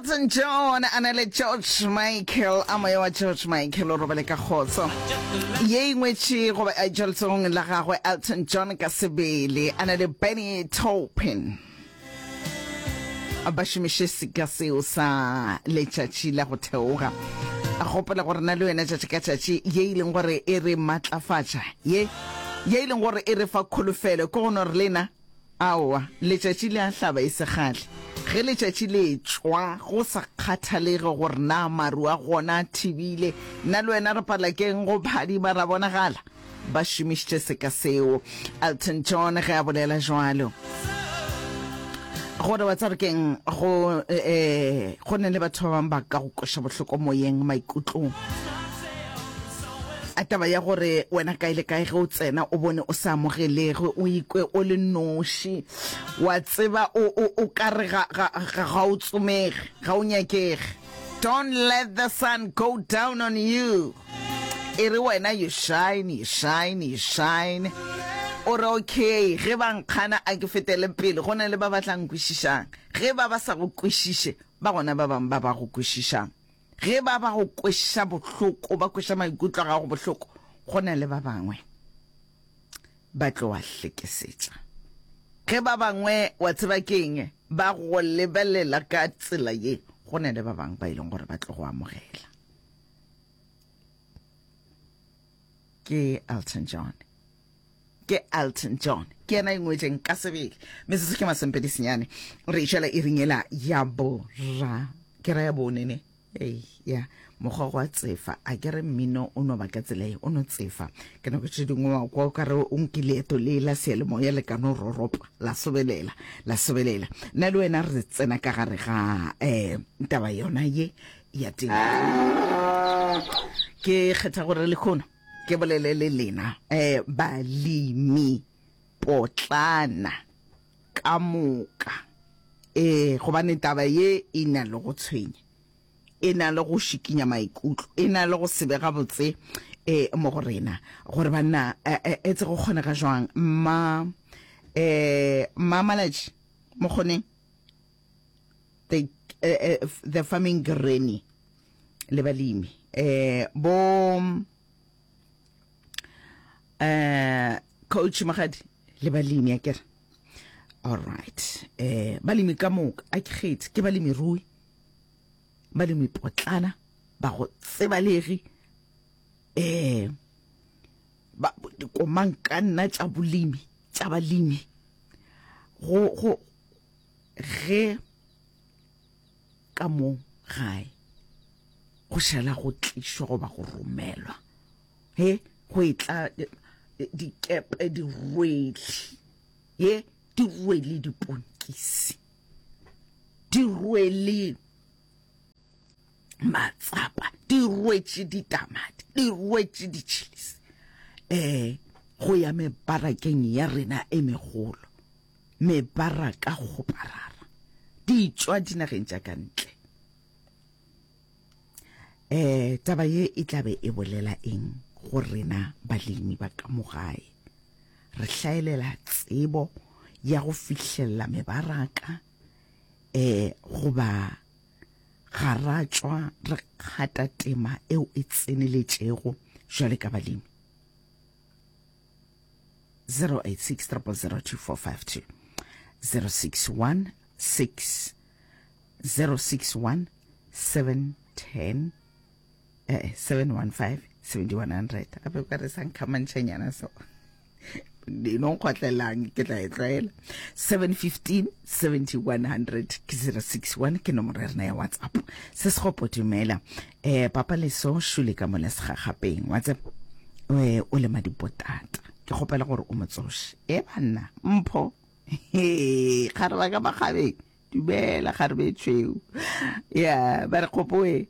Elton John a na le George Michael, a moya wa George Michael o robale ka kgotso. Ye e ngwetše goba a tšwa letsogong la gagwe Elton John ka sebele a na le Benny Taupin. Ba šomiše seka seo sa letšatši la go theoga. Gopola gore na le wena tšatši ka tšatši ye e leng gore e re matlafatša ye ye e leng gore e re fa kholofelo ke go no re lena Aowa, letšatši le a hlaba e se kgale. Ge letšatši le etšwa, go sa kgathalege gore na maru a gona a thibile, nna le wena re pala ke'ng go phadima ra bonagala? Ba šomišitše seka seo. Elton John ge a bolela jwalo. Gore wa tseba ke'ng, go, eh, go na le batho ba bangwe ba ka go kweša bohloko moyeng, maikutlong. A taba ya gore wena kae le kae ge o tsena o bone o sa amogelege, o ikwe o le noši, wa tseba o, o, o ka re ga, ga, ga, ga o tsomege, ga o nyakege. Don't let the sun go down on you. E re wena you shine, you shine, you shine. O re okay, ge ba nkgana a ke fetele pele, go na le ba ba tla nkwešišang. Ge ba ba sa go kwešiše, ba gona ba bangwe ba ba go kwešišang. Ge ba ba go kweša bohloko, ba kweša maikutlo a gago bohloko, go na le ba bangwe ba tlo a hlekesetša. Ge ba bangwe, wa tseba ke eng, ba go lebelela ka tsela ye, go na le ba bangwe ba e leng gore ba tlo go amogela. Ke Elton John. Ke Elton John. Ke yena e ngwetšeng ka sebele. Metsotso ke masomepedi senyane. Re išela iring yela ya bora. Ke ra ya bone ne. Ei, ya. Mokgwa wa tsefa. A ke re mmino o no ba ka tsela ye, o no tsefa. Ke nako tše dingwe wa kwa o ka re o nke leeto le la seyalemoya le ka no roropa, la sobelela, la sobelela. Nna le wena re tsena ka gare ga um taba yona ye ya temo. Ke kgetha gore lehono Ke bolele le lena eh, balemi potlana ka moka eh, gobane taba ye e na le go tshwenya, e na le go šikinya maikutlo, e na le go se be gabotse eh, mo go rena gore banna eh, eh, etse go kgonega jwang mma eh, mma Malatši Mokgoneng the, eh, eh, the farming granny le balemi eh bo eh coach Magadi le balemi a kere all right eh balemi ka moka a ke kgethe ke balemi rui balemi potlana ba go tsebalegi eh ba dikomang ka nna tša bolemi tša balemi go go ge Ka mo gae go šala go tlišwa goba go romelwa he go etla dikepe di rwele ye di rwele diponkisi di rwele matsapa di rwetše ditamati di rwetše ditšhilisi um go ya mebarakeng ya rena e megolo Mebaraka kgoparara di tšwa dinageng tša ka ntle. Eh, taba ye e tla be e bolela eng go rena balemi ba ka mo gae? Re hlaelela tsebo ya go fihlelela mebaraka eh goba ga ra tšwa re kgata tema eo e tseneletšego jwale ka balemi? 086 0002452 061 6 061 710 eh 715 7100 gape o ka re sa nkhamantšhanyana so no nkgotlelang ke tla e tlwaela 715 7100 ke 061 ke nomoro ya rena ya whatsapp se se gopo dumela eh papa leso šule ka mola segagapeng wa tseba eh o lema dipotata ke kgopela gore o mo tsoše e banna mpho he gare ba ka makgabeng dumela gare be tšhweu ya ba re kgopoe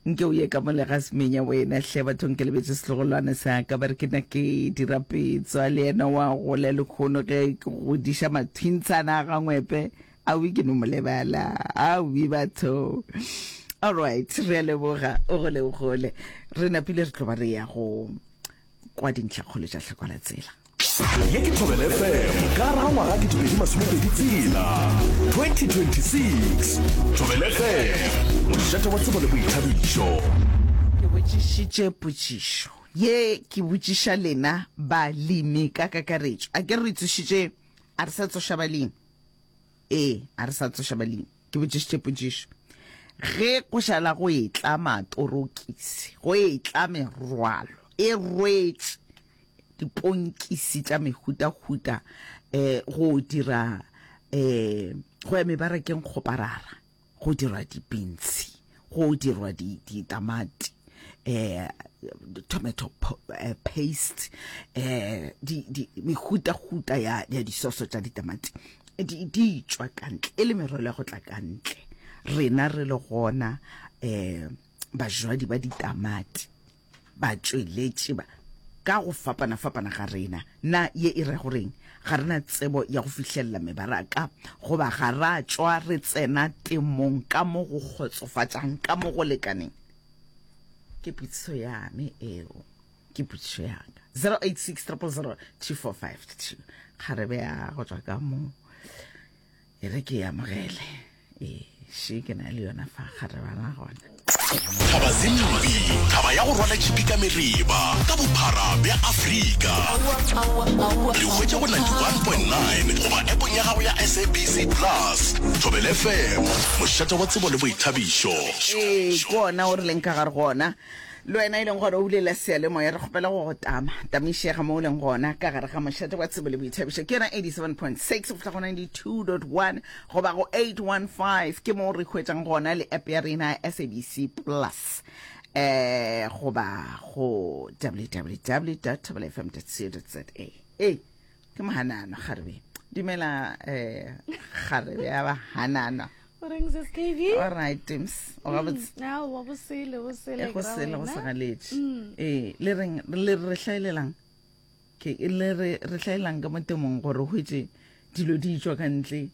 nke o ye ka mo lega semenya wena hle bathong ke lebetse setlogolwane sa ka ba re ke na ke dira petswa le yena wa gola lekgono ge ke godiša mathintshana a gangwepe Awi ke no mo lebala. Awi batho. All right, re a leboga. O gole o gole. Re napile re tlo ba re ya go kwa dintlhakgolo tša tlhako la tsela. Ye ke Thobela FM ka gare ga ngwaga 2026, 2026. Thobela FM, mošate wa tsebo le boithabišo. Ke botšišitše potšišo ye, ke botšiša lena balemi ka kakaretšo. A ke re re tsošitše, a re sa tsoša balemi? Ee, a re sa tsoša balemi. Ke botšišitše potšišo. Ge go šala go etla matorokisi, go etla merwalo e rwetše diponkisi tša mehutahuta um go dira um go ya mebarakeng kgoparara go dirwa dipintshi go dirwa ditamati um tomato eh, paste um mehutahuta ya disoso tša ditamati di tšwa ka ntle e le merwalo ya go tla ka ntle rena re le gona um bajwadi ba ditamati Batšweletši ba ka go fapana-fapana ga rena, na ye e ra go reng? Ga re na tsebo ya go fihlelela mebaraka goba ga ra tšwa re tsena temong ka mo go kgotsofatšang ka mo go lekaneng? Ke potšišo ya me eo, ke potšišo ya ka. 086 000 2452. Kgarebe ya go tšwa ka mo. E re ke e amogele. Ee, še ke na le yona fa kgarebana gona. Thaba Zimbi, thaba ya go rwala tšhipi ka mereba ka bophara bja Afrika. Re hwetša go 91.9 goba appong ya gago ya SABC Plus. Thobela FM, mošate wa tsebo le boithabišo. Ee, ke ona o re leng ka gare go ona. Le wena e leng gore o bulela seyalemoya, re kgopela go go tama. Tamišega mo o leng gona ka gare ga mošate wa tsebo le boithabišo. Ke yona 87.6 go fihla go 92.1 goba go 815 ke mo re hwetšang gona le app ya rena ya SABC Plus eh goba go www.thobelafm.co.za. Ee, ke mohanana kgarebe. Dumela eh kgarebe ya bahanana. O reng sis KB? All right, Tims. O gabotse. Mm, aowa, bo sele, bo sele. E go sele go segaletše. Mm. Ee, le reng le re hlaelelang? Ke le re re hlaelang ka mo temong gore o hwetše dilo di tšwa ka ntle.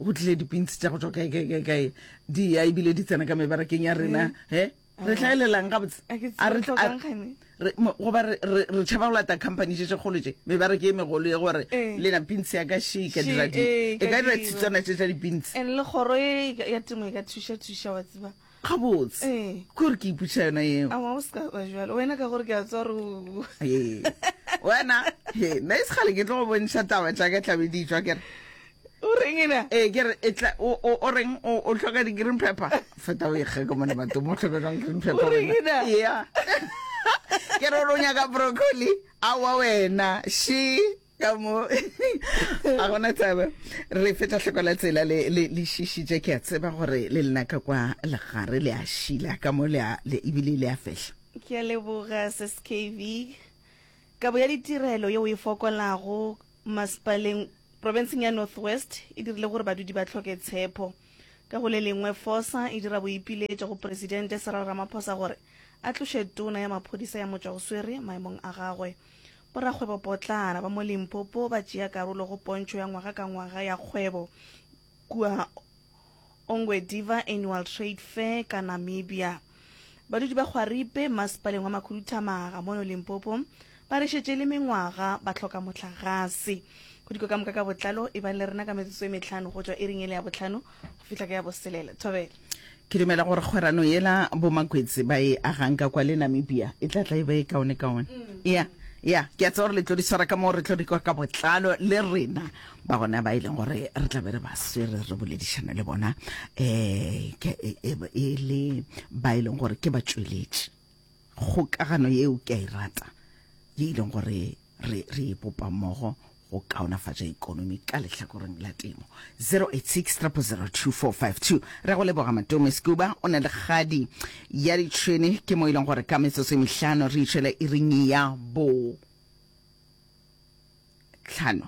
Go tlile dipintsi tša go tšwa kae kae kae kae di ya ebile di tsena ka mebarakeng ya rena. Mm. He? Re hlaelelang gabotse? A re hlokang gane? Re goba re re tšhaba go lata company tše tše kgolo tše mebaraka e megolo ye gore eh. le na pintsi ya ka she e ka dira di eh, e ka dira tshitswana tše tša dipintsi. And le kgoro e ya temo e ka thuša thuša wa tseba. Gabotse. Eh. Ke gore ke ipotša yona eo. A wa o ska ba jwalo. Wena ka gore ke a tswa re. Ee. Wena, he, nna e sekgale ke tlo go bontšha taba tša ka tlabe di tšwa ke re. O reng ena? Ee, ke re e tla o o o reng o o hloka di green pepper. Feta o ikge ka mona batho mo hloka jang green pepper. O reng ena? Yeah. Ke re o nyaka broccoli. Aowa wena, she ka mo a gona taba re feta hloko la tsela le le le šišitše ke a tseba gore le lena ka kwa legare le a šila ka mo le a le ebile le a fehla. Ke a leboga Sis KV. Kabo ya ditirelo yeo e fokolago masepaleng Profenseng ya North West e dirile gore badudi ba hloke tshepo. Ka go le lengwe, FOSA e dira boipiletšo go Presidente Cyril Ramaphosa gore a tloše tona ya maphodisa ya motšwagoswere maemong a gagwe. Borakgwebopotlana ba mo Limpopo ba tšea karolo go pontšho ya ngwaga ka ngwaga ya kgwebo kua Ongwediva Annual Trade Fair ka Namibia. Badudi ba Kgwaripe, masepaleng wa Makhuduthamaga mono Limpopo, ba re šetše e le mengwaga ba hloka mohlagase. Go diko ka moka ka botlalo, ebang le rena ka metsotso e mehlano go tšwa iring yela ya bohlano go fihla ka ya boselela. Thobela. Ke dumela gore kgwerano yela boMakwetse ba e agang ka kwa le Namibia e tla tla e ba e kaonekaone. Ya, ya, ke a tseba gore le tlo di swara ka moo re tlo di kwa ka botlalo le rena ba gona ba e leng gore re tla be re ba swere re boledišana le bona um e le ba e leng gore ke batšweletši. Kgokagano yeo ke a e rata ye e leng gore re re e bopa mmogo go kaonafatša ikonomi ka lehlakoreng la temo. 086 000 2452. Re go leboga Matome Scuba o na le kgadi ya ditšhwene ke mo e leng gore ka metsotso e mehlano re itšwela iring ya bo tlhano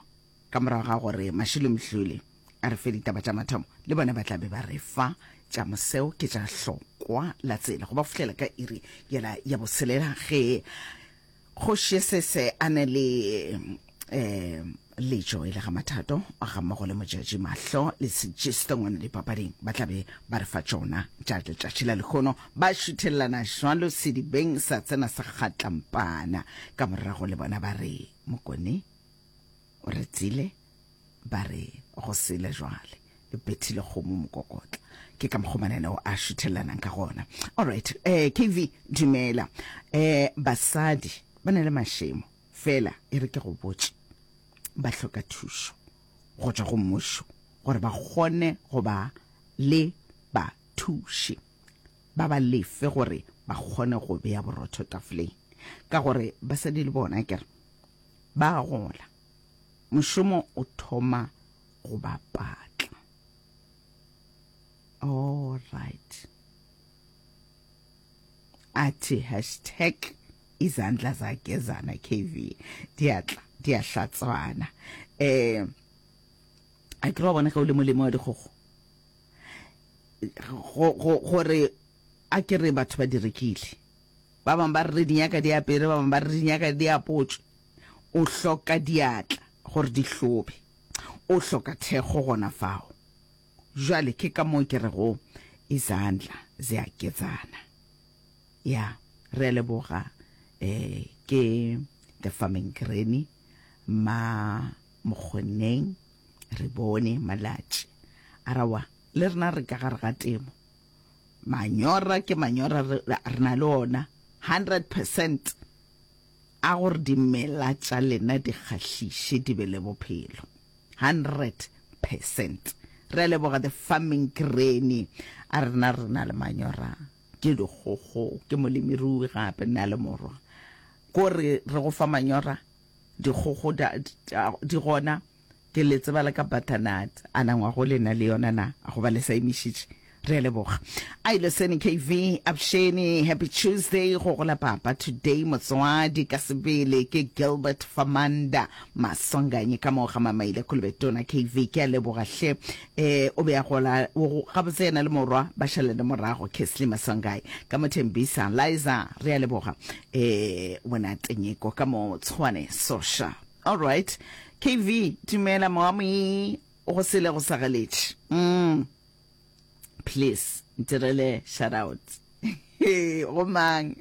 ka morago ga gore Mashilo Mdluli a re fe ditaba tša mathomo le bona ba tla be ba re fa tša moseo ke tša hlokwa la tsela go ba fihlela ka iri yela ya boselela ge Kgoši Sese a ne le um letšo e le ga Mathato ga mmogo le Motšatši Mahlo le Sejisto ngwana dipapading ba tla be ba re fa tšona tša letšatši la lehono ba šuthelelana jwalo sedibeng sa tsena sa kgatlampana ka morago le bona ba re Mokone. O re tsile ba re go sele jwale e bethile kgomo mokokotla. Ke ka mokgwa mananeo a šuthelanang ka gona. Alright, eh, KV dumela. Eh, basadi ba na le mašemo fela e re ke go botše ba hloka thušo go tšwa go mmušo gore ba kgone go ba le bathuši ba ba lefe gore ba kgone go bea borotho tafoleng ka gore basadi le bona kere ba gola mošomo o thoma go ba patla. All right. Athi hashtag izandla zagezana KV diatla di a hlatswana. Eh a ke wa bona ge o le molemi wa dikgogo gore a ke re batho ba di rekile ba bangwe ba re re di nyaka di apere ba bangwe ba re di nyaka di apotswe o hloka diatla gore di hlobe o hloka thekgo gona fao jwale ke ka moo ke rego izandla ziyagezana ya re a leboga eh ke the farming granny ma mokgoneng re bone malatši arawa le rena re ka gare ga temo manyora ke manyora re na le ona 100 percent A gore dimela tša lena di kgahliše di be le bophelo. 100%. Re a leboga the farming granny. A rena re na le manyora ke dikgogo ke molemirui gape nna le morwa. Ko re re go fa manyora dikgogo di gona Ke le tseba le ka butternut. A na ngwago le na le yona na? Goba le sa emišitše? Re a leboga. Ailo Seni KV, Absheni, Happy Tuesday go gola papa today motswadi ka sebele ke Gilbert Famanda Maswanganyi ka moo ga Mamaile Kolobetona KV ke a leboga hle eh o be a gola gabotse yena le morwa ba šalele morago Kesley Maswangayi ka mo Thembisa Liza re a leboga eh wena Tenyeko ka mo Tshwane Sosha Alright. KV, dumela moami, go sele go sa galetše. Mm. Please, ntirele shout out. Go mang?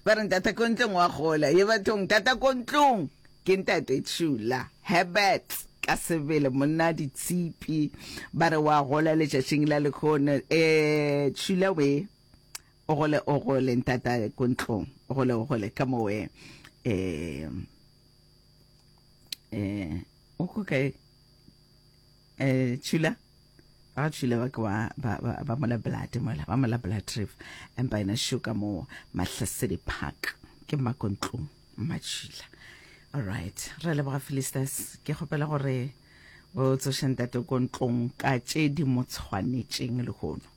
Ba re ntata ko ntlong wa gola. Ye bathong, tata ko ntlong. Ke ntate Chula. Herbert ka sebele monna ditshipi ba re wa gola letšatšing la lekhono. Eh, Chula we. O gole o gole ntata ko ntlong o gole o gole ka mowe eh eh o ko kae eh chula ba chula ba ke ba ba ba mola blood mola ba mola blood trip empa ena shuka mo mahlasedi park ke makontlong machila all right re leboga Philistus ke kgopela gore o tsoše ntate ko ntlong ka tše di mo tshwanetšeng lehono.